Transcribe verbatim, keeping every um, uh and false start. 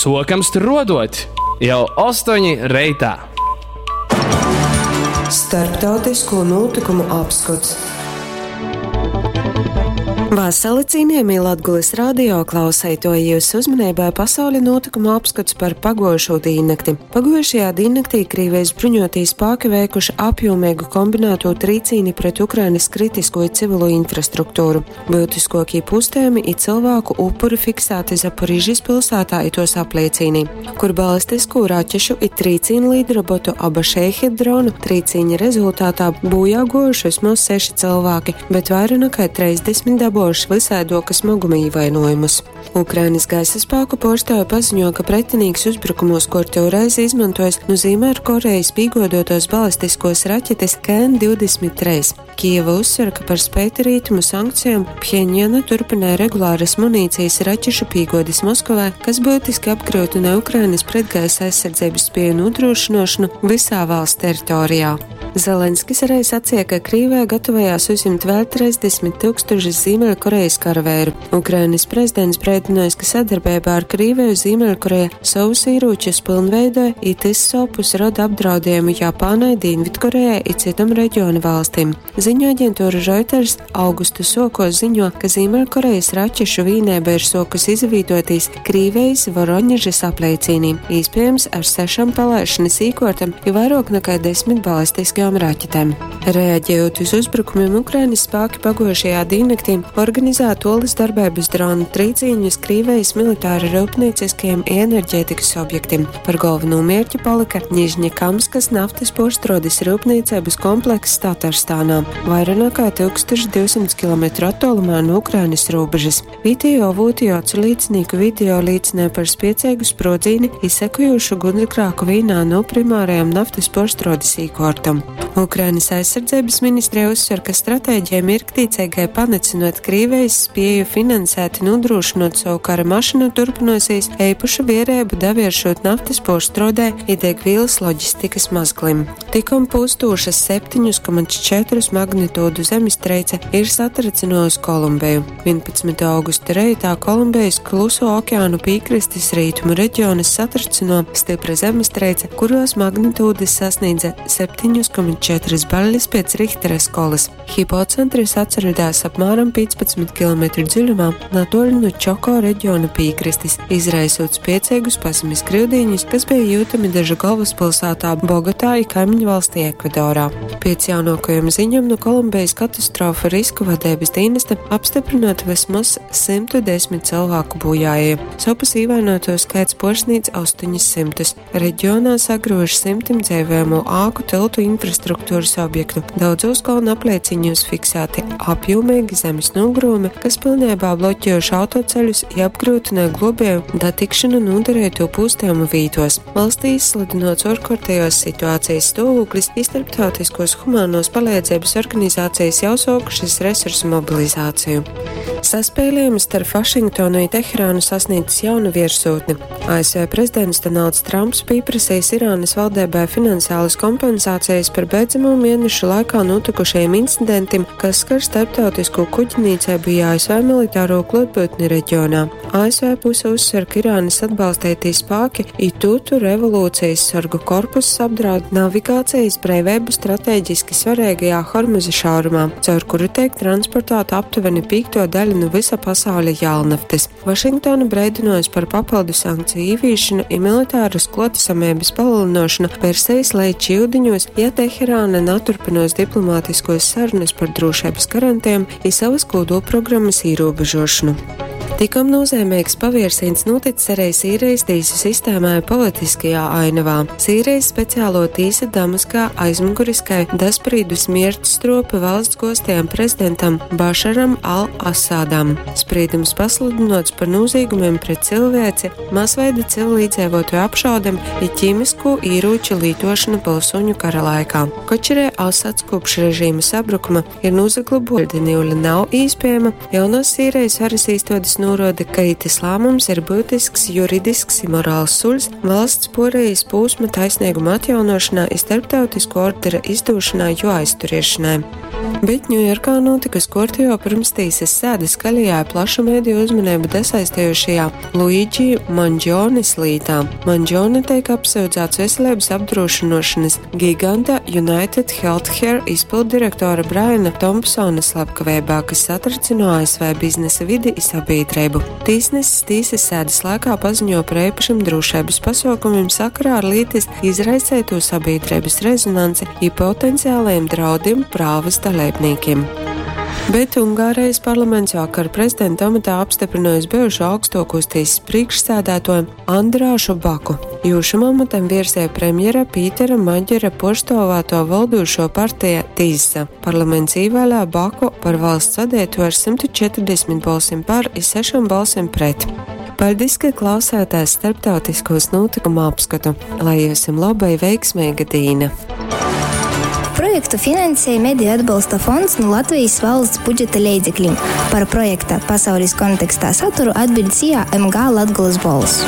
Sokam struodot jau ostoņi reitā. Starptautisko notikumu apskots. Vasali cienījamie Latgulis radio klausētoji, jūsu uzmanībai pasauļa notikuma apskats par pagojušo dīnnakti. Pagojušajā dīnnaktī Krīvijas bruņotī spāki veikuši apjomīgu kombinēto trīcīni pret Ukrainas kritisko civilo infrastruktūru. Būtiskākie pustējumi i cilvēku upuri fiksēti Zaporižas pilsētā i tos apliecīnī, kur balistisko raķešu i trīcīnu līdrobotu aba šeihid dronu trīcīņa rezultātā bojā gojuši vismaz seši cilvēki, bet vairāk nekā trīsdesmit dabūjuši visādoka smaguma ievainojumus. Ukrainas gaisa spēku pārstāvi paziņo, ka pretinīgs uzbrukumos kārtējo reizi izmantojis no Ziemeļkorejas pīgodotos balistiskos raķetes K N divdesmit trīs. Kijeva uzsver, ka par spēti rietumu sankcijām Phenjana turpināja regulāras munīcijas raķešu pīgodes Moskovai, kas būtiski apgrūtina Ukrainas pretgaisa aizsardzības spēju nodrošināšanu visā valsts teritorijā. Zelenskis arī sacīja, ka Krīvija gatavojās uzņemt vēl trīsdesmit tūkstošus Ziemeļkorejas karavēru. Ukrainas prezidents brēdinājis, ka sadarbībā ar Krīviju Ziemeļkoreja savus ieročus pilnveidoja, it tys sopus rada apdraudējumu Japānai, Dienvidkorejai i citam reģiona valstīm. Ziņu aģentūra Reuters augusta sokos ziņo, ka Ziemeļkorejas raķešu vīnēba ir sokus izvītotīs Krīvijas Voroņežas apliecīnī, iespējams ar sešām palaišanas īkortam, jo vairāk nekā desmit balistiskajām raķetēm. Reaģējot uz uzbrukumiem, Ukrainas spēki pagojušajā diennaktī organizēja tolis darbības dronu trīcīņus Krīvijas militāra rūpnieciskajiem enerģētikas objektiem. Par galveno mērķi palika Nižņekamskas naftas porštrodes rūpniecības komplekss Tatarstānā, vairāk nekā tūkstoš divsimt kilometru attālumā no Ukrainas robežas. Video avoti acu liecinieku video liecināja par spiecīgu sprodzini izsekojošu gunsgrāku vīnā no primārajām naftas porštrodes īkortam. Ukrainas aizsardzības ministrija uzsver, ka stratēģija mirktīcīgai panicinot Krīvijas spēju finansēt un nodrošinot savu kara mašīnu turpinosies eipašu vierēbu davieršot naftas porštrodē i degvielas loģistikas mazglim. Tikom pūstošas septiņus komats četrus magnitūdu zemestreice ir satricinojusi Kolumbiju. vienpadsmitā augusta reitā Kolumbijas Kluso okeānu piekrastes rietumu reģionas satricino stipra zemestreice, kuros magnitūdas sasniedza septiņus komats četras baļas pēc Richtera skolas. Hipocentrs atceradās apmēram piecpadsmit kilometru dziļumā natoļu no Čoko reģiona piekrastes, izraisot spiecīgus pazemes grīdiņus, kas bija jūtami dažu galvaspilsētā Bogotā i kaimiņu valstī Ekvadorā. Pēc jaunākajām ziņām no Kolumbijas katastrofu risku vadības dienesta apstiprinot vismaz simtu desmit cilvēku bojājie. Sopas ievainoto skaits poršnīca astoņus simtus. Reģionā sagrūž simtim dzīvojamo āku tiltu infrastruktūras objektu. Daudzos kalnu aplieciņos fiksēti apjomīgi zemes nogrūmi, kas pilnībā bloķējuši autoceļus i apgrūtināja globēju datikšanu noderēto pūstējumu vītos. Valstī izsludinots ārkārtējos situācijas stāvoklis, i starptautiskos humānos palīdzības organizācijas jau sākušas resursu mobilizāciju. Saspēlējums starp Vašingtonu un Teherānu sasniedzis jaunu virsotni. A S V prezidents Donalds Trumps pieprasījis Irānas valdībai finansiālas kompensācijas par beidzamo mēnešu laikā notikušajiem incidentiem, kas skar starptautisko kuģnīcību i A S V militāro klātbūtni reģionā. A S V puse uzsver, ka Irānas atbalstītie spēki i Tutu revolūcijas sargu korpuss apdraud navigācijas brīvību strateģiski svarīgajā Hormuza šaurumā, caur kuru tiek transportēta aptuveni piekto daļu no visa pasauļa jēlnaftas. Vašingtona breidinojas par papildu sankciju ieviešanu i militāras klotisamības palielināšanu Persijas leiča iudiņos, ja Teherāna neturpinos diplomātiskos sarunas par drošības garantijām i savas kodolprogrammas ierobežošanu. Tikom nozīmīgs paviersiens noticis arī Sīrijas tīsu sistēmā politiskajā ainavā. Sīrijas speciālo tīsa Damaskā aizmuguriskai dasprīdus miertstropa valsts gostajam prezidentam Bašaram al-Asādam. Sprīdums pasludinots par noziegumiem pret cilvēci, masveida civilīdzēvotoju apšaudem i ķīmisko ieroču lītošanu pilsoņu kara laikā. Kočerē Asads kopš režīma sabrukuma ir nozaglaboļa niuļa nav īspējama, jaunos Sīrijas varas īstodas norāda, ka itis lēmums ir būtisks juridisks un morāls solis valsts porējas posma taisnīguma atjaunošanā un starptautisko ordera izdošanā jo aizturēšanai. Bet Ņujorkā nūtikus kuortejuo pyrmstīsys sēde skaļajā i plašu mediju uzmaneibu dasaistejušajā Luigi Mandžonis lītā. Mandžone teik apsyudzāts veselības apdrūšynuošonys giganta United Healthcare izpilddirektora Braina Tompsona slepkaveibā, kas satracynuo A S V biznesa vidi i sabīdreibu. Tīsnesis tīsys sēdes laikā paziņo par eipašim drūšeibys pasuokumim sakarā ar lītys izraiseitū sabīdreibys rezonansi i potenciālajim draudim prāvys daleibnīkim. Bet Ungārijas parlaments vakar prezidenta amatā apstiprinājusi bijušo augstākos tiesas priekšsēdētāju Andrāšu Baku. Jū šam amatam virzīja premjera Pītera Maģera puorstuovātuo voldūšo partija Tisa. Parlaments īvēlēja Baku par valsts vadītāju ar simtu četrdesmit balsim par i sešom balsim pret. Paļdis, ka klausāties starptautiskos notikumu apskatu. Lai jums laba i veiksmeiga dīna! Projektu finansēja Mediju atbalsta fonds nu Latvijas valsts budžeta leidzeklim. Par projekta Pasaules kontekstā saturu atbild S I A M G Latgolas Bolss.